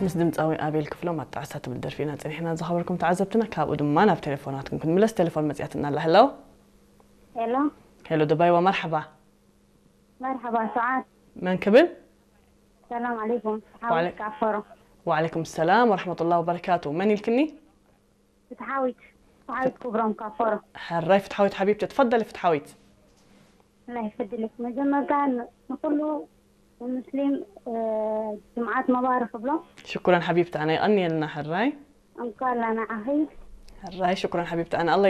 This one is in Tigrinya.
ምስ ድምፃዊ ኣቤል ክፍሎም ኣጣዕሳ ትብል ደርፊ ኢና ፀኒሕና ዝኸበርኩም ተዓዘብትና። ካብኡ ድማ ናብ ቴሌፎናትኩም ክንምለስ። ቴሌፎን መፅያትና ኣላ። ሄሎ። ሄሎ። ሄሎ ደባይዋ፣ መርሓባ። መርሓባ ሰዓት። መን ክብል? ሰላም ዓለይኩም። ወዓለ- ሓወት ካፈሮ። ወዓለይኩም ሰላም ወረሕመቱላህ ወበረካቱ። መን ኢልክኒ? ፍትሓዊት። ፍትሓዊት ክብሮም ካፈሮ። ሕራይ ፍትሓዊት ሓቢብቲ፣ ትፈደሊ ፍትሓዊት። الله يفضلك. መጀመርታ ን- ንኩሉ ሙስሊም እ፣ ጅምዓት መባረክ እብሎ። ሽኩረን ሓቢብቲ፣ ኣነ ይቐንየልና። ሕራይ እንኳን ንዓኺ። ሕራይ ሽኩረን ሓቢብቲ፣ ኣነ ኣላ